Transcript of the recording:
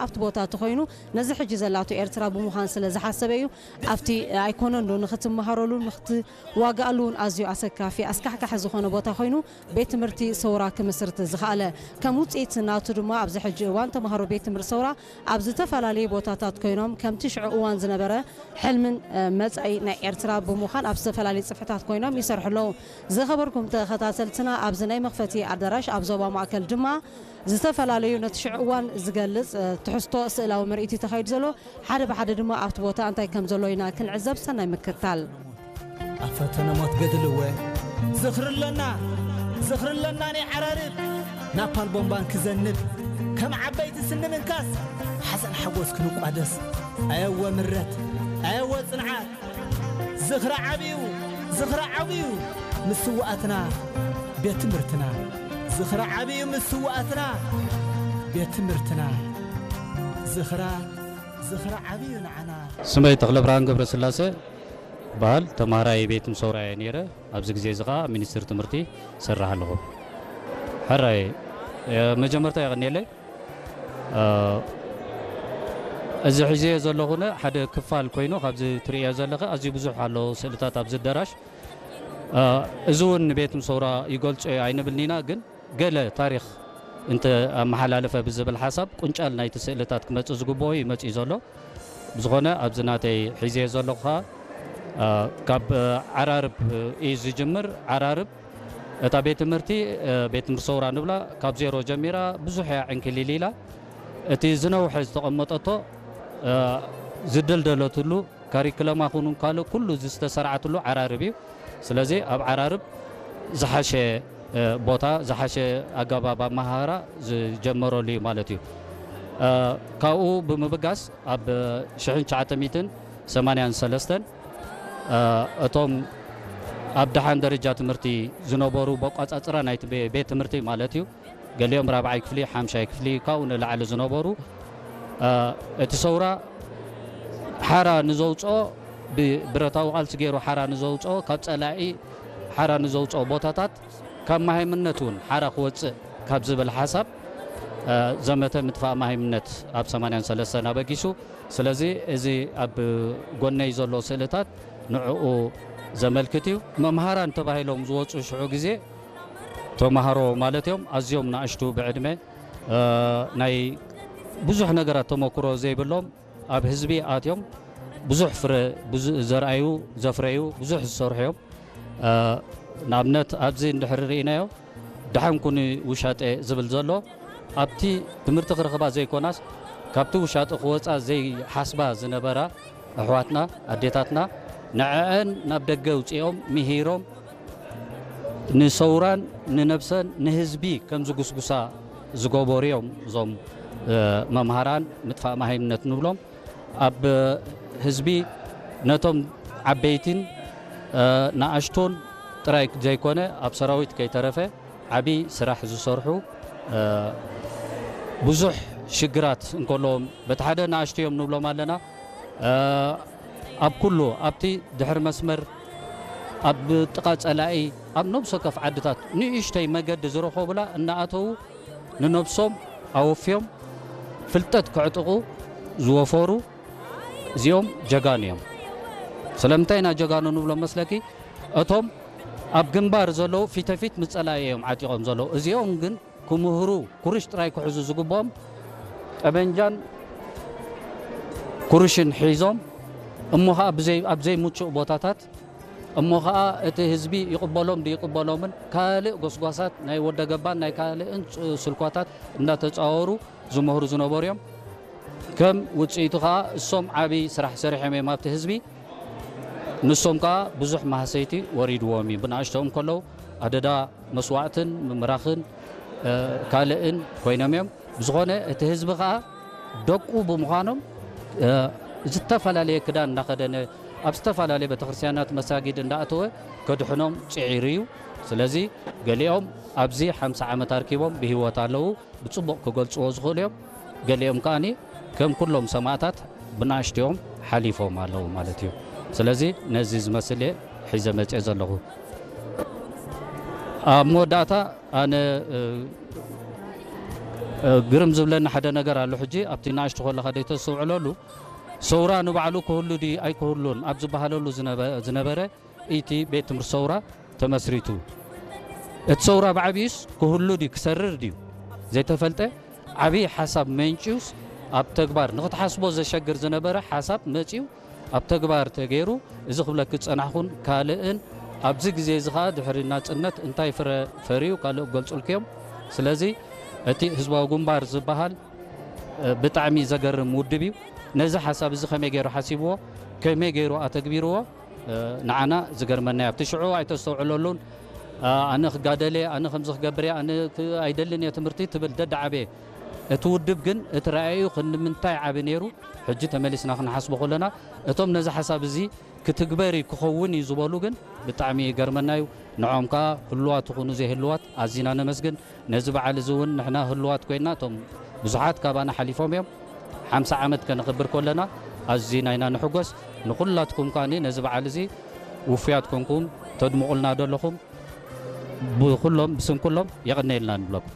ኣብቲ ቦታ እቲ ኮይኑ ነዚ ሕጂ ዘላቶ ኤርትራ ብምዃን ስለ ዝሓሰበ እዩ። ኣብቲ ኣይኮነን ዶ ንኽትመሃረሉ ንኽትዋጋኣሉ እውን ኣዝዩ ኣሰካፊ ኣስካሕካሒ ዝኾነ ቦታ ኮይኑ ቤት ትምህርቲ ሰውራ ክምስርት ዝኸኣለ። ከም ውፅኢት ናቱ ድማ ኣብዚ ሕጂ እዋን ተምሃሮ ቤት ትምህርቲ ሰውራ ኣብ ዝተፈላለዩ ቦታታት ኮይኖም ከምቲ ሽዑ እዋን ዝነበረ ሕልምን መጻኢ ናይ ኤርትራ ብምዃን ኣብ ዝተፈላለዩ ጽፍሕታት ኮይኖም ይሰርሑ ኣለዉ። ዝኸበርኩም ተኸታተልትና ኣብዚ ናይ መኽፈቲ ኣዳራሽ ኣብ ዞባ ማእከል ድማ ዝተፈላለዩ ነቲ ሽዑ እዋን ዝገልጽ ትሕዝቶ ስእላዊ ምርኢት እዩ ተኻይዱ ዘሎ። ሓደ ብሓደ ድማ ኣብቲ ቦታ እንታይ ከም ዘሎ ኢና ክንዕዘብ ሰናይ ምክትታል። ኣብ ፈተነ ሞት ገድልወ ዝኽሪ ኣለና ዝኽሪ ኣለና ናይ ዓራርብ ናፓል ቦምባን ክዘንብ ከም ዓበይቲ ስኒ ምንካስ ሓዘን ሓጎስ ክንቋደስ ኣየወ ምረት ኣየወ ጽንዓት ዝኽሪ ዓብዩ ዝኽሪ ዓብዩ ምስዋኣትና ቤት ትምህርትና ዝኽሪ ዓብዩ ምስዋኣትና ቤት ትምህርትና ዝኽራ ዝኽሪ ዓብዩ ንዓና ስመይ ተኽለብርሃን ገብረስላሴ በሃል ተማሃራይ ቤት ምሰውራ እየ ነይረ። ኣብዚ ግዜ እዚ ከዓ ሚኒስትር ትምህርቲ ሰርሕ ኣለኹ። ሕራይ መጀመርታ የቐንየለይ። እዚ ሒዘዮ ዘለኹነ ሓደ ክፋል ኮይኑ ካብዚ ትርእዮ ዘለኸ ኣዝዩ ብዙሕ ኣሎ ስእልታት ኣብዚ ኣዳራሽ። እዚ እውን ንቤት ምሰውራ ይገልጾ እዩ ኣይንብልኒና ግን ገለ ታሪኽ እንተ ኣመሓላለፈ ብዝብል ሓሳብ ቁንጫል ናይቲ ስእልታት ክመጽእ ዝግብኦ እዩ መጺኡ ዘሎ። ብዝኾነ ኣብዚ ናተይ ሒዘዮ ዘለኹ ኸኣ ካብ ዓራርብ እዩ ዝጅምር። ዓራርብ እታ ቤት ትምህርቲ ቤት ትምህርቲ ሰውራ ንብላ ካብ ዜሮ ጀሚራ ብዙሕ እያ ዕንክሊል ኢላ እቲ ዝነውሐ ዝተቐመጠቶ ዝደልደለትሉ ካሪክለማ ኩኑ ካልእ ኩሉ ዝተሰርዓትሉ ዓራርብ እዩ። ስለዚ ኣብ ዓራርብ ዝሓሸ ቦታ ዝሓሸ ኣገባብ ኣመሃህራ ዝጀመረሉ እዩ ማለት እዩ። ካብኡ ብምብጋስ ኣብ ሽሕን ትሽዓተ ሚእትን ሰማንያን ሰለስተን እቶም ኣብ ደሓን ደረጃ ትምህርቲ ዝነበሩ በቋጻጽራ ናይቲ ቤት ትምህርቲ ማለት እዩ ገሊኦም ራብዓይ ክፍሊ ሓምሻይ ክፍሊ ካብኡ ንላዕሊ ዝነበሩ እቲ ሰውራ ሓራ ንዘውፅኦ ብብረታዊ ቃልሲ ገይሩ ሓራ ንዘውፅኦ ካብ ፀላኢ ሓራ ንዘውፅኦ ቦታታት ካብ መሃይምነት እውን ሓራ ክወፅእ ካብ ዝብል ሓሳብ ዘመተ ምጥፋእ መሃይምነት ኣብ ሰማንያን ሰለስተን ኣበጊሱ ስለዚ እዚ ኣብ ጎነይ ዘሎ ስእልታት ንዕኡ ዘመልክት እዩ መምሃራን ተባሂሎም ዝወፁ ሽዑ ግዜ ተምሃሮ ማለት እዮም ኣዝዮም ንኣሽቱ ብዕድመ ናይ ብዙሕ ነገራት ተመክሮ ዘይብሎም ኣብ ህዝቢ ኣትዮም ብዙሕ ፍረ ዘርኣዩ ዘፍረዩ ብዙሕ ዝሰርሑ እዮም ንኣብነት ኣብዚ እንድሕር ርኢናዮ ደሓን ኩኒ ውሻጠ ዝብል ዘሎ ኣብቲ ትምህርቲ ክረኽባ ዘይኮናስ ካብቲ ውሻጠ ክወፃ ዘይሓስባ ዝነበራ ኣሕዋትና ኣዴታትና ንዐዐን ናብ ደገ ኣውፂኦም ምሂሮም ንሰውራን ንነብሰን ንህዝቢ ከም ዝጉስጉሳ ዝገበሩ እዮም እዞም መምሃራን ምጥፋእ መሃይምነት ንብሎም ኣብ ህዝቢ ነቶም ዓበይትን ንኣሽቶን ጥራይ ዘይኮነ ኣብ ሰራዊት ከይተረፈ ዓብይ ስራሕ ዝሰርሑ ብዙሕ ሽግራት እንከለዎም በቲ ሓደ ንኣሽቱ እዮም ንብሎም ኣለና ኣብ ኩሉ ኣብቲ ድሕሪ መስመር ኣብ ጥቓ ፀላኢ ኣብ ነብሲ ወከፍ ዓድታት ንእሽተይ መገዲ ዝረኸቡላ እናኣተዉ ንነብሶም ኣወፍዮም ፍልጠት ከዕጥቑ ዝወፈሩ እዚኦም ጀጋኑ እዮም። ስለምንታይ ኢና ጀጋኑ ንብሎም መስለኪ? እቶም ኣብ ግንባር ዘለዉ ፊተፊት ምስ ፀላኢ እዮም ዓጢቖም ዘለዉ። እዚኦም ግን ክምህሩ ኩርሽ ጥራይ ክሕዙ ዝግብኦም ጠበንጃን ኩርሽን ሒዞም እሞ ኸዓ ብዘይ ኣብ ዘይምቹእ ቦታታት እሞ ኸዓ እቲ ህዝቢ ይቕበሎም ድይቕበሎምን ካልእ ጎስጓሳት ናይ ወደገባን ናይ ካልእን ስልኳታት እንዳተፃወሩ ዝመህሩ ዝነበሩ እዮም። ከም ውፅኢቱ ኸዓ እሶም ዓብዪ ስራሕ ሰሪሖም እዮም ኣብቲ ህዝቢ። ንሶም ከኣ ብዙሕ ማህሰይቲ ወሪድዎም እዩ። ብንኣሽቶኦም ከለዉ ኣደዳ መስዋእትን ምምራኽን ካልእን ኮይኖም እዮም። ብዝኾነ እቲ ህዝቢ ከኣ ደቁ ብምዃኖም ዝተፈላለየ ክዳን እንዳኸደነ ኣብ ዝተፈላለየ ቤተክርስትያናት መሳጊድ እንዳኣተወ ከድሕኖም ፅዒሩ እዩ። ስለዚ ገሊኦም ኣብዚ ሓምሳ ዓመት ኣርኪቦም ብህይወት ኣለዉ። ብጽቡቕ ክገልጽዎ ዝኽእሉ እዮም። ገሊኦም ከኣኒ ከም ኩሎም ሰማእታት ብንኣሽትኦም ሓሊፎም ኣለዉ ማለት እዩ። ስለዚ ነዚ ዝመስል እየ ሒዘ መጽየ ዘለኹ። ኣብ መወዳእታ ኣነ ግርም ዝብለኒ ሓደ ነገር ኣሎ። ሕጂ ኣብቲ ንኣሽቱ ከለኻ ደይተስተውዕለሉ፣ ሰውራ ንባዕሉ ክህሉ ድዩ ኣይክህሉን ኣብ ዝበሃለሉ ዝነበ-፣ ዝነበረ እቲ ቤት ትምህርቲ ሰውራ ተመስሪቱ። እቲ ሰውራ ብዓብዩስ ክህሉ ድዩ ክሰርር ድዩ ዘይተፈልጠ፣ ዓብዪ ሓሳብ መንጭዩስ ኣብ ተግባር ንክትሓስቦ ዘሸግር ዝነበረ ሓሳብ መፅዩ ኣብ ተግባር ተገይሩ። እዚ ክብለኪ ዝፀናሕኩን ካልእን ኣብዚ ግዜ እዚ ኸዓ ድሕሪ ናፅነት እንታይ ፍረ ፈርዩ ካልእ ክገልፁልኪ እዮም። ስለዚ እቲ ህዝባዊ ግንባር ዝበሃል እ፣ ብጣዕሚ ዘገርም ውድብ እዩ። ነዚ ሓሳብ እዚ ከመይ ገይሩ ሓሲብዎ፣ ከመይ ገይሩ ኣተግቢርዎ፣ እ፣ ንዓና ዝገርመና እዩ። ኣብቲ ሽዑ ኣይተስተውዕለሉን። እ፣ ኣነ ክጋደል እየ፣ ኣነ ከምዚ ክገብር እየ፣ ኣነ ክ-፣ ኣይደልን እየ ትምህርቲ ትብል ደዳዓበየ። እቲ ውድብ ግን እቲ ረኣዩ ክንምንታይ ዓቢ ነይሩ፣ ሕጂ ተመሊስና ክንሓስቦ ከለና፣ እቶም ነዚ ሓሳብ እዚ ክትግበር እዩ ክኸውን እዩ ዝበሉ ግን ብጣዕሚ ይገርመና እዩ። ንዖም ከኣ ህሉዋት ይኹኑ ዘይህሉዋት ኣዚና ነመስግን። ነዚ በዓል እዚ እውን ንሕና ህሉዋት ኮይና እቶም ብዙሓት ካባና ሓሊፎም እዮም። ሓምሳ ዓመት ከነኽብር ከለና ኣዚና ኢና ንሕጎስ። ንኹላትኩም ከኣ ነዚ በዓል እዚ ውፉያት ኮንኩም ተድምቑልና ዘለኹም ብኹሎም ብስም ኩሎም የቐነየልና ንብለኩም።